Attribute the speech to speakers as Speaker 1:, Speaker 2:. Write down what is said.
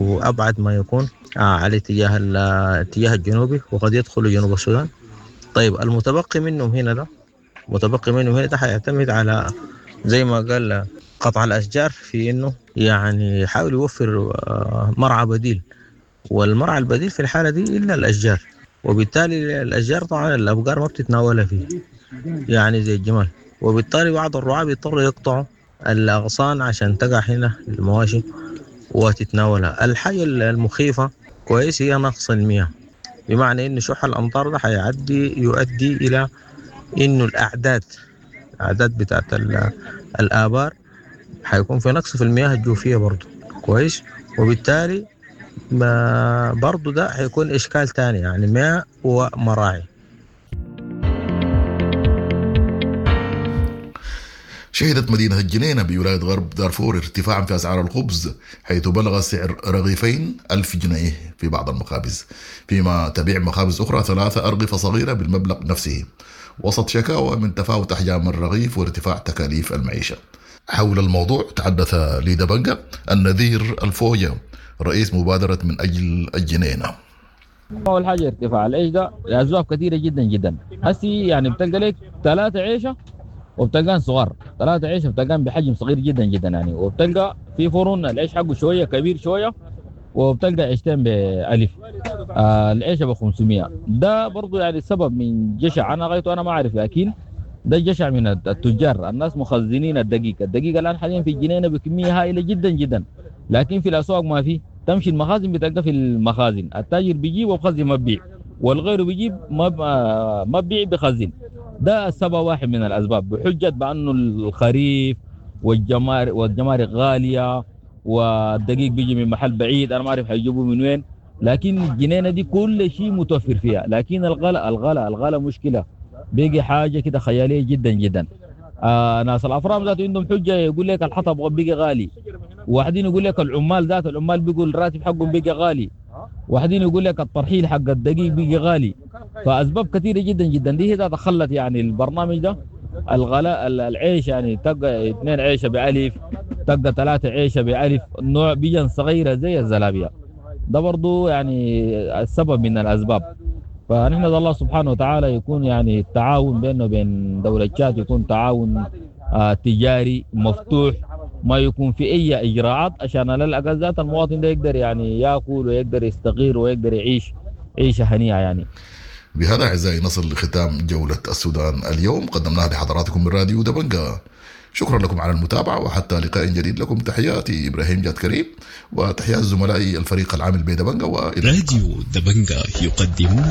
Speaker 1: وأبعد ما يكون على الاتجاه الجنوبي، وقد يدخلوا جنوب السودان. طيب المتبقي منهم هنا ده، متبقي منهم هنا ده حيعتمد على زي ما قال قطع الأشجار في إنه يعني يحاول يوفر مرعى بديل، والمرعى البديل في الحالة دي إلا الأشجار، وبالتالي الأشجار طبعا الأبقار ما بتتناولها فيه يعني زي الجمال، وبالتالي بعض الرعاة بيضطروا يقطعوا الأغصان عشان تقع هنا المواشي وتتناولها. الحاجة المخيفة كويس هي نقص المياه، بمعنى إنه شح الأمطار ده يؤدي إلى إنه الأعداد بتاعت الآبار حيكون في نقص في المياه الجوفية برضو كويس، وبالتالي ما برضو ده حيكون إشكال تاني، يعني ماء ومراعي.
Speaker 2: شهدت مدينة الجنينة بولاية غرب دارفور ارتفاعا في أسعار الخبز، حيث بلغ سعر رغيفين 1000 جنيه في بعض المخابز، فيما تبيع مخابز أخرى 3 أرغفة صغيرة بالمبلغ نفسه، وسط شكاوى من تفاوت أحجام الرغيف وارتفاع تكاليف المعيشة. حول الموضوع تحدث لدبنجا النذير الفوجة رئيس مبادرة من أجل الجنينة.
Speaker 3: أول حاجة ارتفاع العيش ده لأسباب كثيرة جدا جدا. هسي يعني بتلقى لك 3 عيشة وبتلقان صغار، 3 عيشة بتلقان بحجم صغير جدا جدا يعني، وبتلقى في فرن العيش حقه شوية كبير شوية، وبتلقى عيشتين ب1000، العيشة ب500. ده برضو يعني سبب من جشع، أنا غايته أنا ما أعرف، لكن ده جشع من التجار. الناس مخزنين الدقيق الآن حاليا في الجنينة بكمية هائلة جدا جدا، لكن في الأسواق ما في. تمشي المخازن بتلقى في المخازن التاجر بيجيب وبخزن ما بيبيع، والغير بيجيب ما بيبيع بخزن. ده السبب واحد من الأسباب، بحجة بأنه الخريف والجمارك غالية والدقيق بيجي من محل بعيد، أنا ما أعرف حيجيبوه من وين، لكن الجنينة دي كل شيء متوفر فيها. لكن الغلا الغلا الغلا مشكلة، بيجي حاجة كده خيالية جدا جدا. ناس الأفرام ذاته عندهم حجة، يقول لك الحطب بيجي غالي، واحدين يقول لك العمال ذات العمال بيقول الراتب حقهم بيجي غالي، واحدين يقول لك الترحيل حق الدقيق بيجي غالي. فأسباب كثيرة جدا جدا دي هي تخلت يعني البرنامج ده الغلاء العيش، يعني تلقى 2 عيشة ب1000، تلقى 3 عيشة ب1000، نوع بيجن صغيرة زي الزلابية. ده برضو يعني السبب من الأسباب. فنحن الله سبحانه وتعالى يكون يعني التعاون بينه وبين دولة تشاد يكون تعاون تجاري مفتوح، ما يكون في أي إجراءات، عشان على الأقل ذات المواطن ده يقدر يعني يأكل ويقدر يستقر ويقدر يعيش عيشة هنيئة يعني.
Speaker 2: بهذا أعزائي نصل لختام جولة السودان اليوم، قدمناها لحضراتكم من راديو دبنجا. شكرا لكم على المتابعة، وحتى لقاء جديد لكم تحياتي إبراهيم جاد كريم وتحيات زملائي الفريق العامل بدبنجا. وإلى
Speaker 4: راديو دبنجا يقدم.